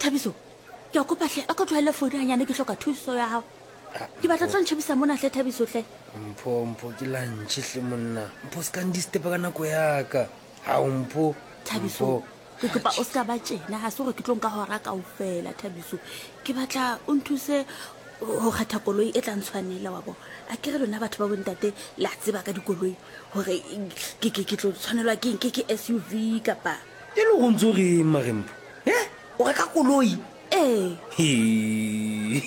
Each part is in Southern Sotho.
Thabiso, ke a kopa hle, a ko tlohelle founu hanyane, ke hloka thuso ya gago. Ke batla tlo ntšhebisa mona hle, Thabiso hle. Mpho, Mpho, ke lunch hle monna. Mpho, se ka ndistepa ka nako ya ka. Hao, Mpho. Thabiso, Mpho. ke kopa o se ka ba tjena, ga se gore ke tlo nka hora kaofela, Thabiso. Ke batla o nthuse go kgetha koloi e tla ntshwanela, wa bo. A ke re lona batho ba bontate la tseba ka dikoloi gore ke ke ke tlo tshwanelwa ke eng, ke ke SUV kapa. E le go ntse o reng mare Mpho? He? O reka koloi? Ee. Ee,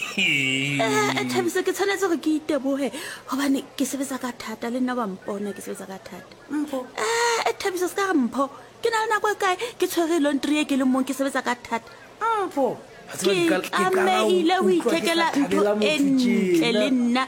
Thabiso, ke tshwanetse gore ke iteboge gobane ke sebetsa ka thata, le nna wa mpona ke sebetsa ka thata. Mpho. Ee, Thabiso, se ka re Mpho. Ke na le nako e kae ke tshwere laundry e ke leng mong ke sebetsa ka thata. Mpho. Ke tlamehile go ithekela ntho e ntle le nna.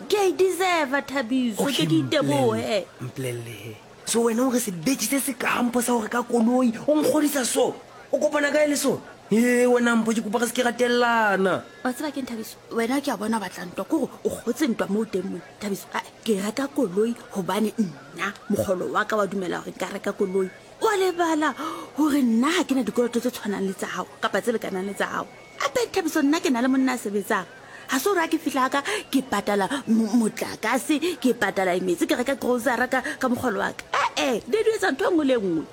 Ke a e deserve, Thabiso, ke ke iteboge. Mpolelle he. So wena o re sebetši se se ka Mpho sa go reka koloi, o nkgodisa so? O kopana kae le sona? Ee, wena Mpho, ke kopa re se ke ra tellana. Wa tseba keng, Thabiso? Wena ke a bona o batla ntwa, ke gore o kgotse ntwa mo o teng mona. Thabiso, ae, ke reka koloi gobane nna mokgolo wa ka wa dumela gore nka reka koloi. O a lebala gore nna ga ke na dikoloto tse tshwanang le tsa gago kapa tse lekanang le tsa gago. Gape, Thabiso, nna ke na le monna a sebetsang. Ga se gore ga ke fihla ga ka ke patala motlakase, ke patala metsi, ke reka grocery ka, ka mogolo wa ka. Ee, di di etsa ntho e nngwe le e nngwe.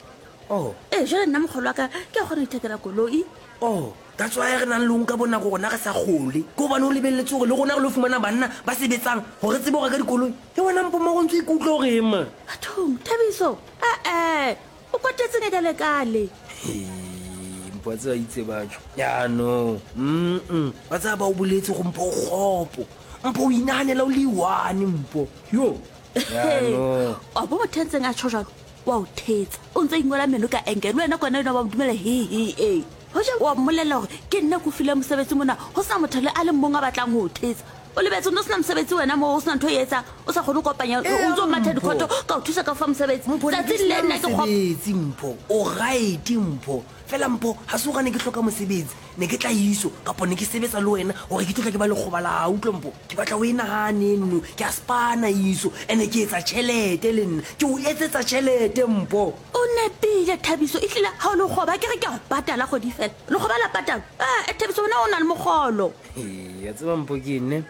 Oh. Ee, jale nna mogolo wa ka ke a kgona go ithekela koloi. Oh, that's why re nang le o nka bonako rona re sa gole. Ke gobane o lebeletse gore le rona re lo fumana banna ba sebetsang gore re tsebe go reka dikoloi. Ke wena Mpho mara o ntse o ikutlwa o reng man? Bathong, Thabiso, ee, o kwatetseng e kale-kale. Hee, Mpho wa tseba itse batho. Ya no. Mm. Wa tseba ba o boletse go Mpho o kgopo. Mpho o inahanela o le one Mpho. Yo. Ya no. Wa bo motho a ntseng a tjho jwalo, wa o thetsa. O ntse a ingola meno ka enke. Le wena kwana enwa wa mo dumela he he e. Hoja wa mmolella hore ke nna ke o fileng mosebetsi mona, ho sena motho le a le mong a batlang ho o thetsa. O lebetse o ne o sena mosebetsi wena moo, o sena ntho e etsang, o sa kgone ho kopanya, o ntse o matha dikhoto, ka o thusa ka o fa mosebetsi. Mpho, ne ke Tsatsing le sena nna ke kgopo. mosebetsi Mpho, o right Mpho. Fela Mpho, ha se hore ne ke hloka mosebetsi, ne ke tla iso kapa ne ke sebetsa le wena hore ke tlo tla ke ba lekgoba la hao. Utlwa Mpho, ke batla o e nahane eno, ke a spana iso, ene ke etsa tjhelete le nna, ke o etsetsa tjhelete Mpho. O nepile Thabiso, ehlile ha o lekgoba ke re ke a o patala kgwedi fela. Lekgoba la patalwa? Ee, Thabiso wena o na le mokgolo. Ee, ya tseba Mpho ke eng ne?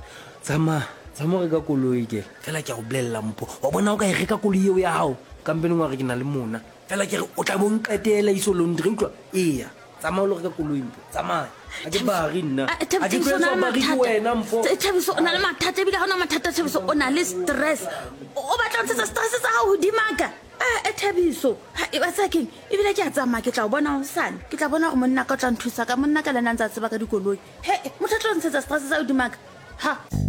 Tsamaya, tsamaya o reka koloi ke. Fela ke a go bolelela Mpho, wa bona o ka e reka koloi eo ya gago, kampeneng wa re ke na le mona. Fela ke re o tla bo nqetela iso laundry, utlwa? Eya, tsamaya o lo reka koloi Mpho, tsamaya. Ga ke bari nna. Ah, Ga ke Thabiso o na tlo le etswa bari ke mathata. wena Mpho. Thabiso o na le mathata ebile ga o na mathata Thabiso o na le stress. O batla ho ntshetsa stress tsa gago hodima ka. Ee, Thabiso, ha e ba tsaya keng? Ebile ke a tsamaya ke tla o bona hosane. Ke tla bona gore monna ka o tla nthusa ka monna ka le ena a ntse a tseba ka dikoloi. He, motho a tlo ntshetsa stress sa hodima ka. Ha.